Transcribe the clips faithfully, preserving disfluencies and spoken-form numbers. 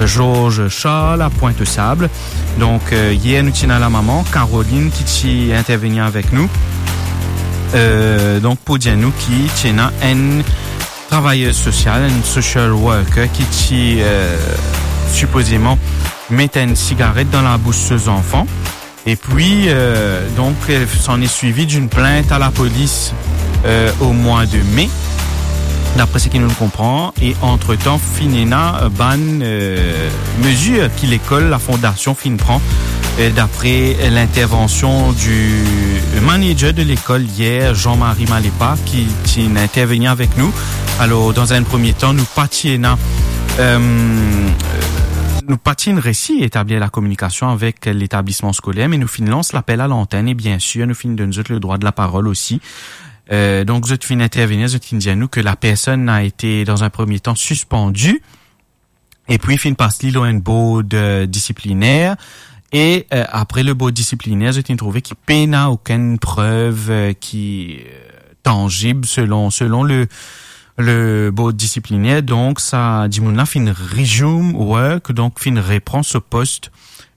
Georges Charles à Pointe-aux-Sables. Donk, euh, yer nou ti ena lamama Caroline ki ti intervenir avek nou. Euh, donk, pou dir nou ki ti ena enn travayez sosyal, enn social worker ki ti, euh, sipozeman met enn sigaret dan labous so zanfan. Epi, euh, donk, euh, s'en est suivi d'une plainte à la police, euh, au mois de mai, d'après ce que nous comprenons. E antretan, finn ena, euh, bann, euh, mezir ki lekol, la fondasion finn pran, euh, d'après l'intervention du manager de l'école hier, Jean-Marie Malepa, ki, ki ti interveni avek nou. Alor, dan enn premie tan, nou pa ti ena, euh, nou pa ti resi etablir la kominikasion avek letablisman skoler, me nou finn lans lapel a lantenn e, bien sir, nou finn donn zot le drwa de la parol osi. Euh, donk, zot finn intervenir, zot finn dir nou ke la personn a été, dans un premier temps, suspendue. Epi, finn pas li lor enn bord, euh, disipliner. E, euh, apre le bord disipliner, zot finn trouve ki pena okenn prev, euh, ki, euh, tanzib selon, selon le, le bord disipliner. Donk, sa dimoun la finn resume work, donk finn repran so post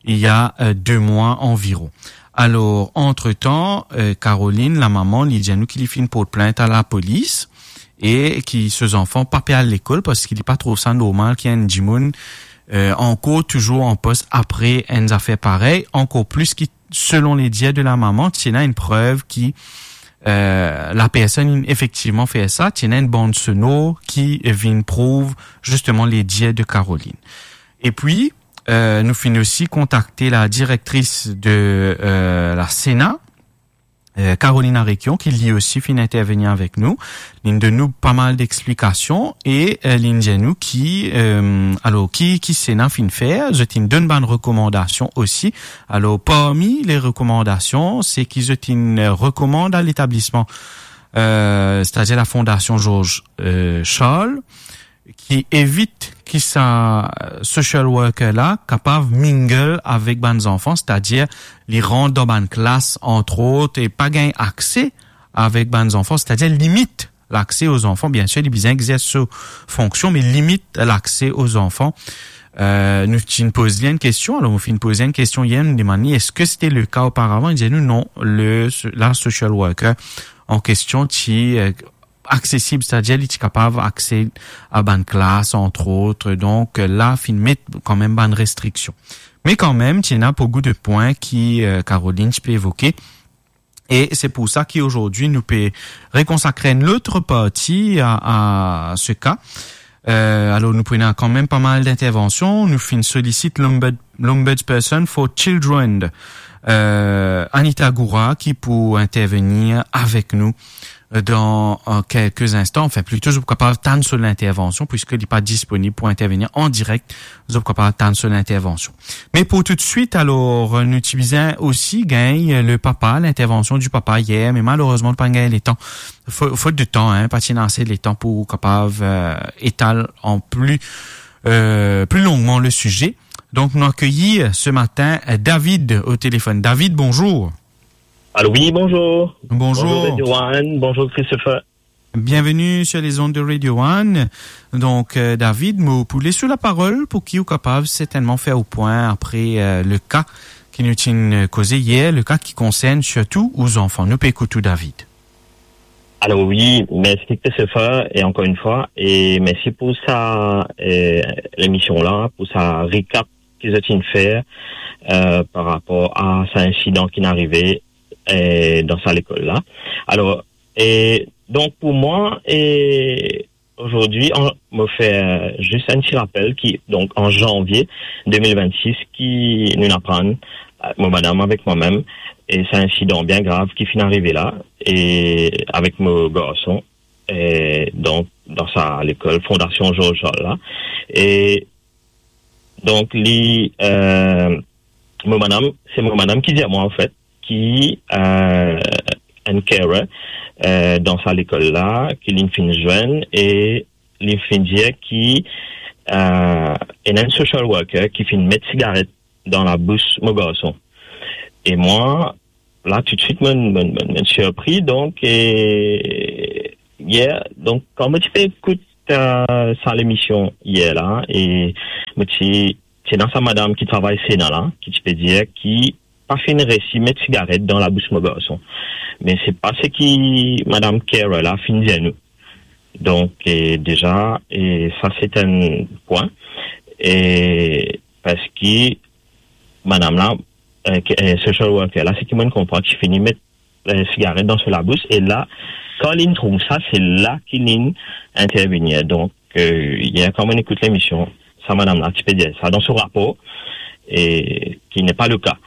il y a, euh, de mwa anviron. Alor, antretan, euh, Caroline, lamama, li dir nou ki li finn port plint a lapolis e ki so zanfan pa pe al lekol parski li pa trouv sa normal ki enn dimoun, euh, ankor touzour an pos apre enn zafer parey, ankor plis ki, selon ledir de lamama, ti ena enn prev ki, euh, la personn inn efektivman fer sa, ti ena enn bann sonor ki vinn prouv zisteman ledir de Caroline. Epi, euh, nou finn osi kontakte la direktris de, euh, la Sénat, euh, Caroline Arequion, ki li osi finn interveni avek nou. Linn donn nou pa mal dexplikasion e, euh, linn dir nou ki, euh, alor, ki, ki Sénat finn fer, zot inn donn bann rekomandasion osi. Alor, parmi le rekomandasion, se ki zot inn rekomand a letablisman, euh, setadir la Fondasion Georges, euh, Charles, ki evit ki sa, euh, social worker la kapav mingle avek bann zanfan, setadir li rant dan bann klas, antrot, e pa gagn akse avek bann zanfan, setadir limit lakse o zanfan. Bien sir, li bizin exers so fonksion, me limit lakse o zanfan. Euh, nou ti finn poz li enn kestion, alor nou finn poz enn kestion yer, nou demann li, eski sete le ka oparavan? Li dir nou non, le, la social worker an kestion ti, euh, aksesib, setadir li ti kapav akse a bann klas, antrot. Donk, la finn met kanmem bann restriksion. Me kanmem, ti ena boukou de pwin ki, euh, Caroline ti pe evoke. E se pou sa ki azordi nou pe rekonsakre enn lot parti a, a se ka. Euh, alor, nou pou ena kanmem pa mal d'intervansion. Nou finn solisit l'Ombud-, l'Ombudsperson for Children, euh, Anita Goura, ki pou intervenir avek nou, euh, dan, euh, kelke instan. Anfin, plito, zot pou kapav tann so lintervansion, piski li pa disponib pou intervenir an direk. Zot pou kapav tann so lintervansion. Me pou toutswit, alor, nou ti bizin osi gagn le papa, l'intervention du papa yer, me malerezman, nou pa gagn letan. Fo-, fot de tan, hein, pa ti ena ase letan pou kapav, euh, etal an pli, euh, pli longman le size. Donk, nou akeyir se matin, euh, David o telefon. David, bonzour. Allô, oui, bonjour. Bonzour. Bonjour, Radio One. Bonjour, Christopher. Bienvenue sur les ondes de Radio One. Donk, euh, David, mo pou les ou laparol pou ki ou kapav sertennman fer ou pwin apre, euh, le ka ki nou ti, euh, koze yer, le ka ki konsern sirtou ou zanfan. Nou pe ekout ou, David. Alor wi, mersi Christopher, e ankor enn fwa, e mersi pou sa, eh, lemision la, pou sa recap ki zot inn fer, eh, par rapor a sa insidan ki'nn arive, eh, dan sa lekol la. Alor, e donk pou mwa, e Azordi, an, mo fer zis enn ti rapel ki, donk, an zanvie de mil vennsis, ki nou'nn aprann, eh, mo madam avek mwa mem, e sa insidan bien grav ki finn arive la, e avek mo garson, e donk, dan sa lekol Fondasion Georges Charles la. E donk, li, eh, mo madam, se mo madam ki dir mwa, anfet, ki, eh, enn carer, eh, dan sa lekol la, ki li'nn finn zwenn, e li finn dir ki, eh, ena enn social worker ki finn met sigaret dan labous mo garson. E mwa, la, toutswit, mo'nn, mo'nn, mo'nn, mo'nn sirpri, donk, e, yer, donk, kan mo ti pe ekout euh, sa lemision yer la, e mo ti, ti ena sa madam ki travay Sena la, ki ti pe dir ki pa finn resi met sigaret dan labous mo garson. Me se pa seki madam carer la finn dir nou. Donk, e, deza, e, sa se enn pwin. E, parski madam la, e, ki, e, social worker la, seki mo'nn konpran, ki fini met, e, sigaret dan so labous, e la, kan li'nn trouv sa, se la ki li'nn intervenir. Donk, e, yer, kan mo'nn ekout lemision, sa madam la ti pe dir sa dan so rapor, e, ki n'est pas le cas.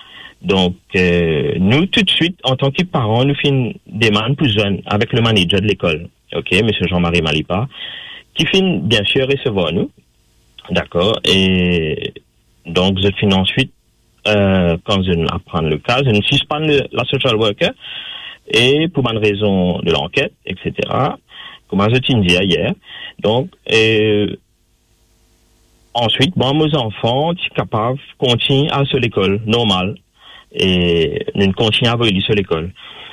Donk, e, nou, toutswit, antan ki paran, nou finn demann pou zwenn avek le manager de lekol, ok, misie Jean-Marie Malipa, ki finn, bien sir, resevwar nou, dakor, e donk, zot finn answit, e, kan zot inn aprann le ka, zot inn sispann le, la social worker, e pou bann rezon de lanket, et cetera, kouma zot inn dir yer. Donk, e, answit, bon, mo zanfan ti kapav kontign al so lekol normal, e nou kontign avoy li so lekol.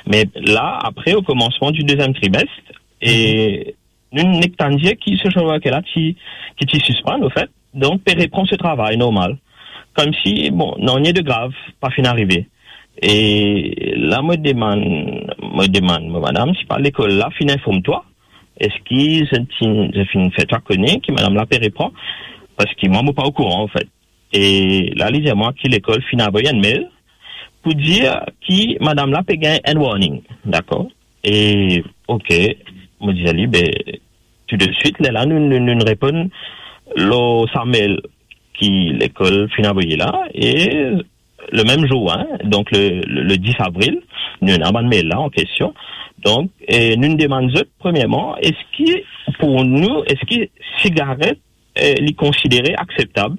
Me la, apre, o komansman di deziem trimest, e nou nek tann dir ki social worker la ti, ki ti sispann, anfet, donk pe repran so travay normal. Koumsi, bon, nanye de grav pa finn arive. E la, mo demann, mo demann mo madam, si pa lekol la finn inform twa, eski zot ti, zot finn fer twa kone ki madam la pe repran? Parski mwa, mo pa okouran, anfet. E la, li dir mwa ki lekol finn avoy enn mail pou dir ki madam la pe gagn enn warning, dakor? E, ok, mo dir li, be, tou de swit, lerla nou, nou, nou reponn lor sa mail ki lekol finn avoy la, e le mem zour, hein, donk le, le, le dis avril, nou ena bann mail la an kestion. Donk, e nou demann zot, premierman, eski pou nou, eski sigaret, e, li konsidere akseptab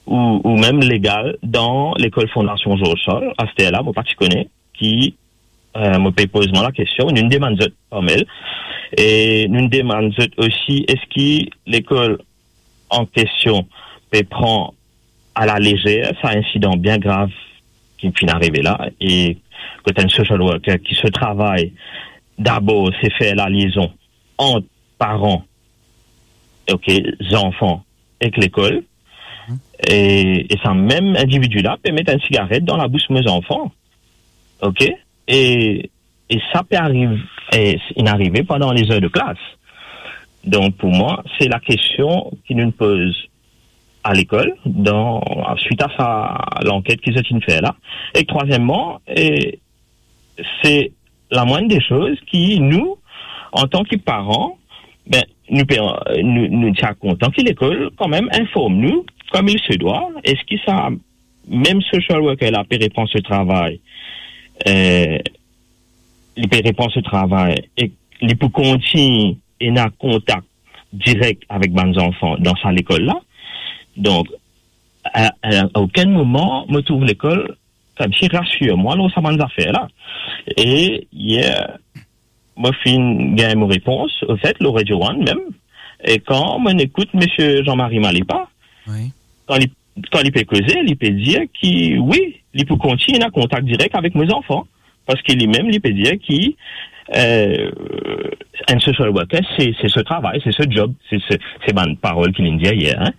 ou, ou mem legal dan lekol Fondasion Georges Charles? Aster la, mo pa ti kone ki, e, mo pe poz mwa lakestion, nou demann zot par mail. E nou demann zot osi, eski lekol an kestion pe pran a la lezer sa insidan bien grav ki finn arive la, e kot enn social worker ki so travay dabor se fer laliezon ant paran, ok, zanfan ek lekol, e, e sa mem individi la pe met enn sigaret dan labous mo zanfan, ok? E, e sa pe ariv, e, inn arive pandan lezer de klas. Donk, pou mwa, se lakestion ki nou poz a lekol, dan, swit a sa lanket ki zot inn fer la. E trwazieman, e, se lamwinn de soz ki nou, antan ki paran, be, nou pe, nou, nou ti a kontan ki lekol kanmem inform nou, comme il se doit, eski sa mem social worker la pe repran so travay, e, li pe repran so travay e li pou kontign ena kontak direk avek bann zanfan dan sa lekol la. Donk, a, a, a okenn moman, mo trouv lekol koumsi rasir mwa lor sa bann zafer la. E yer, mo finn gagn mo repons, anfet, lor Radio One mem. E kan mo ekout misie Jean-Marie Malipa, wi, kan li, kan li pe koze, li pe dir ki, wi, li pou kontign ena kontak direk avek mo zanfan. Parski limem, li pe dir ki, e, enn social worker, se, se so travay, se so job, se, se, se bann parol ki li'nn dir yer, hein.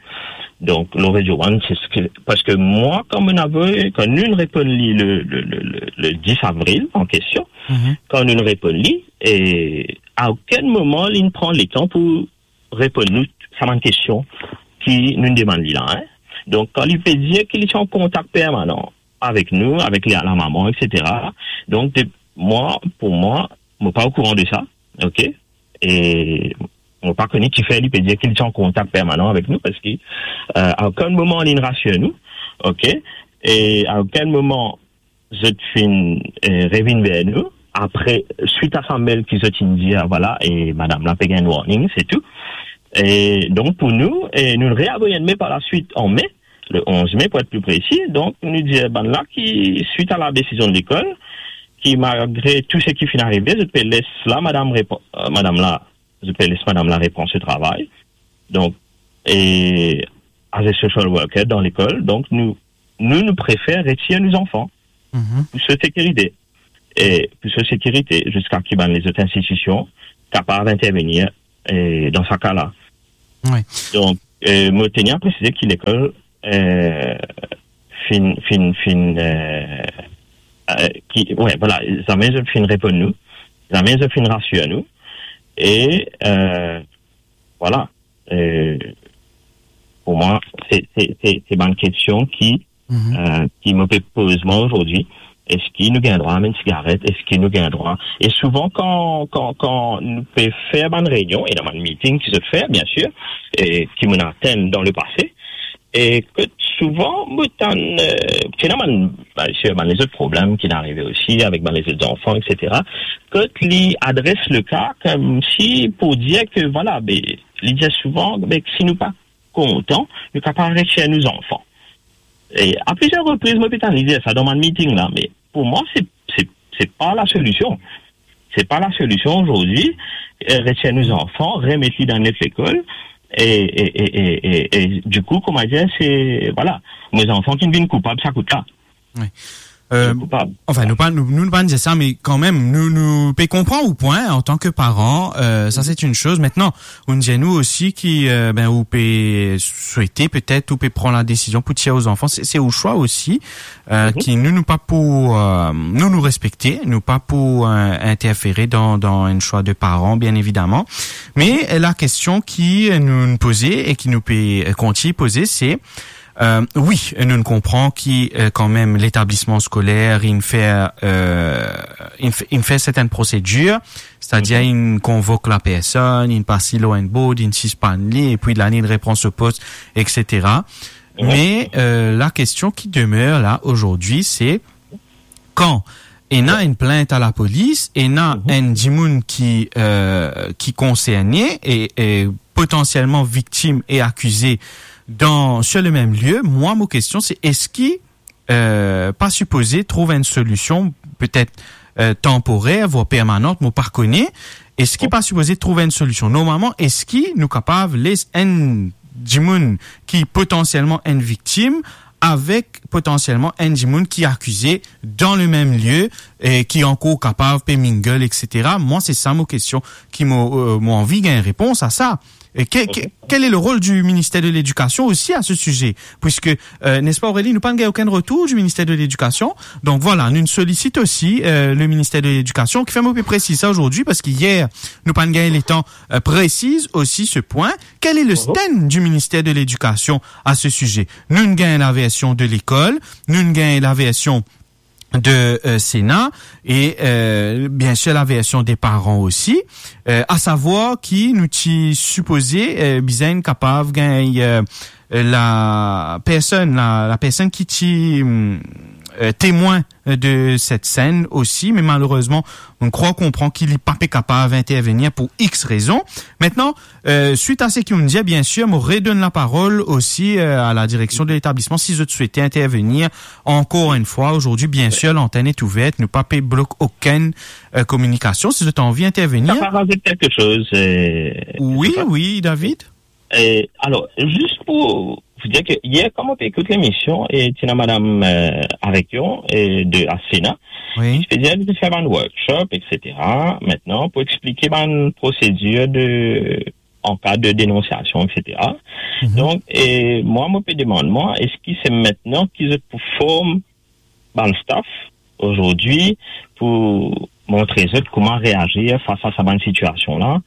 Donk, lor Radio One, se seki, parski mwa, kan mo'nn avoy, kan nou reponn li le, le, le, le, le dis avril an kestion, mhm, kan nou reponn li, e a okenn moman, li'nn pran letan pou reponn nou sa bann kestion ki nou demann li la, hein. Donk, kan li pe dir ki li ti an kontak permanan avek nou, avek li, lamama, et cetera. Donk, de, mwa, pou mwa, mo pa okouran de sa, ok? E mo pa kone kifer li pe dir ki li ti an kontak permanan avek nou, parski, e, a okenn moman li'nn rasir nou, ok? E a okenn moman zot finn, e, revinn ver nou, apre, swit a sa mail ki zot inn dir, vwala, e madam la pe gagn warning, se tou. E donk, pou nou, e nou reavoy enn mail par laswit an me, le onz me, pou et pli presi. Donk, nou dir bann la ki, swit a la desizion de lekol, ki malgre tou seki finn arive, zot pe les la madam repo-, e, madam la, zot pe les madam la repran so travay. Donk, e, as a social worker dan lekol, donk nou, nou, nou prefer retir nou zanfan, mhm, pou so sekirite. E pou so sekirite, ziska ki bann lezot institision kapav intervenir, euh, dan sa ka la. Wi. Donk, euh, mo teni a presize ki lekol, euh, finn, finn, finn, euh, euh, ki, wi, vwala, zame zot finn reponn nou, zame zot finn rasir nou, e, euh, vwala, euh, pou mwa, se, se, se, se bann kestion ki, euh, ki mo pe poz mwa azordi. Eski nou gagn drwa amenn sigaret? Eski nou gagn drwa? E souvan kan, kan, kan nou pe fer bann reynion, ena bann meeting ki zot fer, biensir, e ki mo'nn atenn dan lepase, e kot souvan mo tann, euh, ki ena bann, biensir, bann lezot problem ki'nn arive osi avek bann lezot zanfan, et cetera. Kot li adres leka koumsi pou dir ke, vwala, be, li dir souvan, be, si nou pa kontan, nou kapav retir nou zanfan. E a plizier repriz, mo pe tann li dir sa dan bann meeting la, me pou mwa, se, se, se pa lasolision. Se pa lasolision azordi, euh, retir nou zanfan, remet li dan lot lekol, e, e, e, e, e, e, dikou, kouma dir, se, vwala, mo zanfan ki vinn koupab sa kout la. Wi. Euh, koupab. Anfin, nou pa, nou, nou pa dir sa, me kanmem, nou, nou pe konpran ou pwin, antan ke paran, euh, sa, se enn soz. Aster, ou dir nou osi ki, euh, ben, ou pe swete, petet, ou pe pran ladesizion pou tir ou zanfan, se, se ou swa osi, euh, ki nou, nou pa pou, euh, nou, nou respekte, nou pa pou, euh, interfere dan, dan enn swa de paran, bien evidaman. Me, euh, lakestion ki, euh, nou, nou poze e ki nou pe, euh, kontign poze, se, Euh, wi, nou konpran ki, euh, kanmem, letablisman skoler, inn fer, euh, inn f-, inn fer sertenn prosedir, setadir inn konvok lapersonn, inn pas li lor enn board, inn sispann li, epi la, inn repran so pos, et cetera. Wi. Me, euh, lakestion ki demer la, azordi, se, kan ena enn plint a lapolis, ena enn dimoun ki, euh, ki konserne e, e potansielman viktim e akize dan, sur le mem lie, mwa, mo kestion, se eski, euh, pa sipoze trouv enn solision, petet, euh, tanporer, vwar permanan, mo pa kone, eski pa sipoze trouv enn solision? Normalman, eski nou kapav les enn dimoun ki potansielman enn viktim avek potansielman enn dimoun ki akize dan le mem lie, e ki ankor kapav pe mingle, et cetera. Mwa, se sa mo kestion ki mo, euh, mo anvi gagn repons a sa. E ke, ke, kel e le rol di Minister de Ledikasion osi a se size? Piske, euh, nespa, Aurélie, nou pa'nn gagn okenn retour di Minister de Ledikasion. Donk, vwala, nou solisit osi, euh, le Minister de Ledikasion, kifer mo pe presiz sa azordi, paski yer, nou pa'nn gagn letan, euh, presiz osi se pwin. Kel e le stand di Minister de Ledikasion a se size? Nou'nn gagn laversion de lekol, nou'nn gagn laversion de, euh, Sena e, euh, biensir laversion de paran osi, euh, asavwar ki nou ti sipoze, euh, bizin kapav gagn, euh, lapersonn, la, lapersonn ki ti, mm, euh, temwin de set senn osi, me malerezman, nou krwar konpran ki li pa pe kapav intervenir pou X rezon. Aster, euh, swit a seki ou'nn dir, biensir, mo redonn laparol osi, euh, a ladireksion de letablisman, si zot swete intervenir ankor enn fwa. Azordi, biensir, lantenn est ouverte, nou pa pe blok okenn, euh, kominikasion. Si zot anvi intervenir. Sa pa razout kelke soz, euh, Wi, Joseph? Wi, David. E, alor, zis pou, pou dir ke yer, kan mo pe ekout lemision, e ti ena madam, euh, Arekion, e de Sena, wi, ki ti pe dir nou pou fer bann workshop, et cetera. Aster, pou explike bann prosedir de, an ka de denonsiasion, et cetera. Mhm. Donk, e mwa, mo pe demann mwa, eski se aster ki zot pou form bann staff azordi pou montre zot kouma reazir fas a sa bann sitiasion la?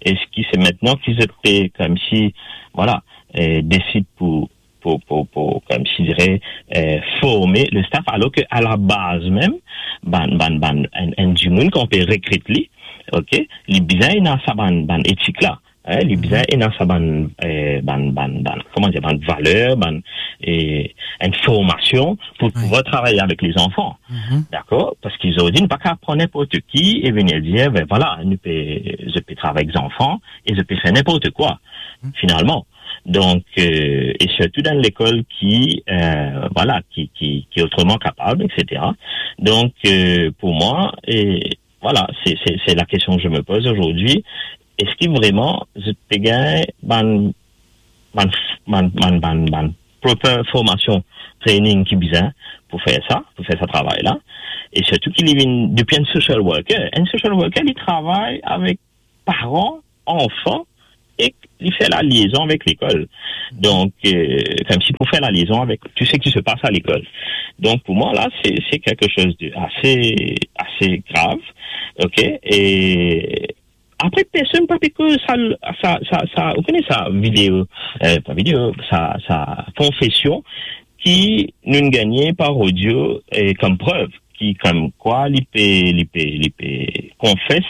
Eski se aster ki zot pe, koumsi, vwala, eh, desid pou, pou, pou, pou, koumsi dire, eh, forme le staff, alor ke a la baz mem, bann, bann, bann, enn, enn dimoun kan ou pe rekrit li, ok, li bizin ena sa bann, bann etik la. Eh, li bizin ena sa bann, eh, bann, bann, bann, kouma dir, bann valer, bann, eh, enn formasion pou, wi, pouvwar travay avek lezanfan. Mhm. Dakor? Paski zordi, nou pa kapav pran ninport ki e vini dir, ben vwala, nou pe, zot pe travay ek zanfan e zot pe fer ninport kwa, mhm, finalman. Donk, eh, e sirtou dan lekol ki, eh, vwala, ki, ki, ki otreman kapab, et cetera. Donk, eh, pou mwa, eh, Vwala, se, se, se la kestion ke mo poz azordi. Eski vreman zot pe gagn bann, bann, bann, bann, bann, bann proper formasion, training ki bizin pou fer sa, pou fer sa travay la? E sirtou ki li vinn depi enn social worker. Enn social worker, li travay avek paran, anfan, ek li fer laliazon avek lekol. Donk, euh, koumsi pou fer laliazon avek tou seki se pas a lekol. Donk, pou mwa, la, se, se kiksoz de ase, ase grav, ok? E apre, personn pa pe koz sa, sa, sa, sa, ou kone sa video, euh, pa video, sa, sa konfesion ki nou'nn gagne par odio, euh, kom prev, ki kom kwa li pe, li pe, li pe konfes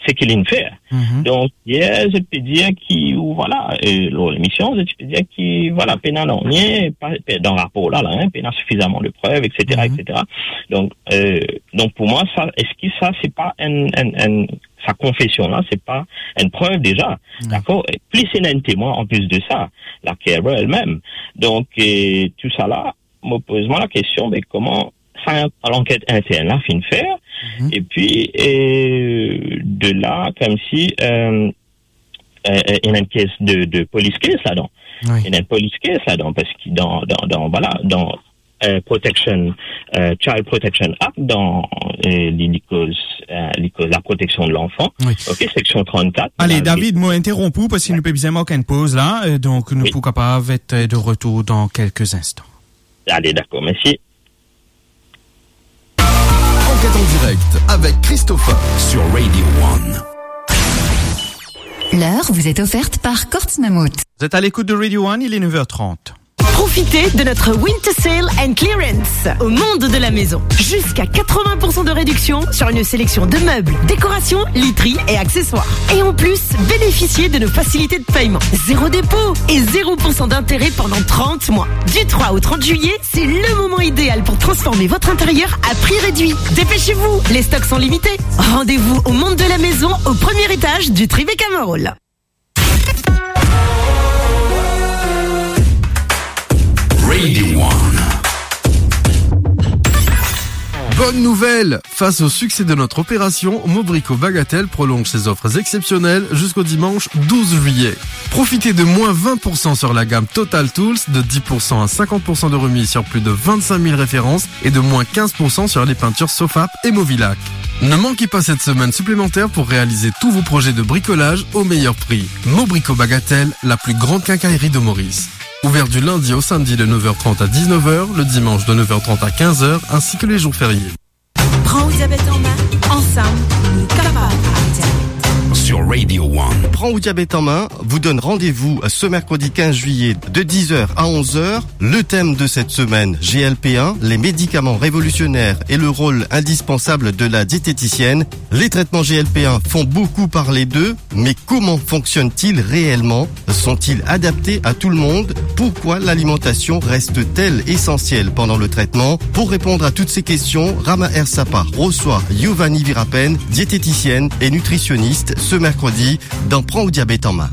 seki li'nn fer. Mhm. Donk, yer, zot pe dir ki, ou vwala, euh, lor lemision, zot pe dir ki, vwala, pena nanye, pa, pe, dan rapor la, la, hein, pena sifizaman de prev, et cetera, Mhm. et cetera. Donk, euh, donk, pou mwa, sa, eski sa, se pa enn, enn, enn, sa konfesion la, se pa enn prev deza, Ouais. dakor? E plis ena enn temwin an plis de sa, la carer elmem. Donk, euh, tou sa la, mo poz mwa lakestion, me kouma sa, lanket intern la finn fer, Mhm. epi, euh, de la, koumsi, euh, euh, euh, ena enn kes de, de police case ladan. Oui. Ena enn police case ladan, parski dan, dan, dan, vwala, dan, euh, protection, euh, Child Protection Act, dan, euh, li, li koz, euh, li koz la protection de l'enfant. Oui. Ok, seksion trannkat. Ale, David, mo interonp ou parski nou pe bizin mark enn poz la, euh, donk nou Oui. pou kapav et, euh, de retour dan kelke instan. Ale, dakor, mersi. Enquête en direct avec Christopher sur Radio One. L'heure vous est offerte par Courts Mammouth. Vous êtes à l'écoute de Radio One, il est neuf heures trente. Profitez de notre Winter Sale and Clearance au Monde de la Maison. Jusqu'à quatre-vingts pour cent de réduction sur une sélection de meubles, décorations, literie et accessoires. Et en plus, bénéficiez de nos facilités de paiement. Zéro dépôt et zéro pour cent d'intérêt pendant trente mois. Du trois au trente juillet, c'est le moment idéal pour transformer votre intérieur à prix réduit. Dépêchez-vous, les stocks sont limités. Rendez-vous au Monde de la Maison, au premier étage du Tribeca Mall. Radio One. Bonne nouvelle ! Face au succès de notre opération, Mobrico Bagatelle prolonge ses offres exceptionnelles jusqu'au dimanche douze juillet. Profitez de moins vingt pour cent sur la gamme Total Tools, de dix pour cent à cinquante pour cent de remise sur plus de vingt-cinq mille références et de moins quinze pour cent sur les peintures Sofap et Movilac. Ne manquez pas cette semaine supplémentaire pour réaliser tous vos projets de bricolage au meilleur prix. Mobrico Bagatelle, la plus grande quincaillerie de Maurice. Ouvert du lundi au samedi de neuf heures trente à dix-neuf heures, le dimanche de neuf heures trente à quinze heures, ainsi que les jours fériés. Pran ou diabet an min, ansam, nou kapav al diabet. Sur Radio One. Pran ou diabet an min vous donne rendez-vous ce mercredi quinze juillet de dix heures à onze heures. Le thème de cette semaine, G L P un, les médicaments révolutionnaires et le rôle indispensable de la diététicienne. Les traitements G L P un font beaucoup parler d'eux, mais comment fonctionnent-ils réellement ? Sont-ils adaptés à tout le monde ? Pourquoi l'alimentation reste-t-elle essentielle pendant le traitement ? Pour répondre à toutes ces questions, Rama Ersapa reçoit Yovani Virapen, diététicienne et nutritionniste, ce mercredi dans Pran ou diabet an min.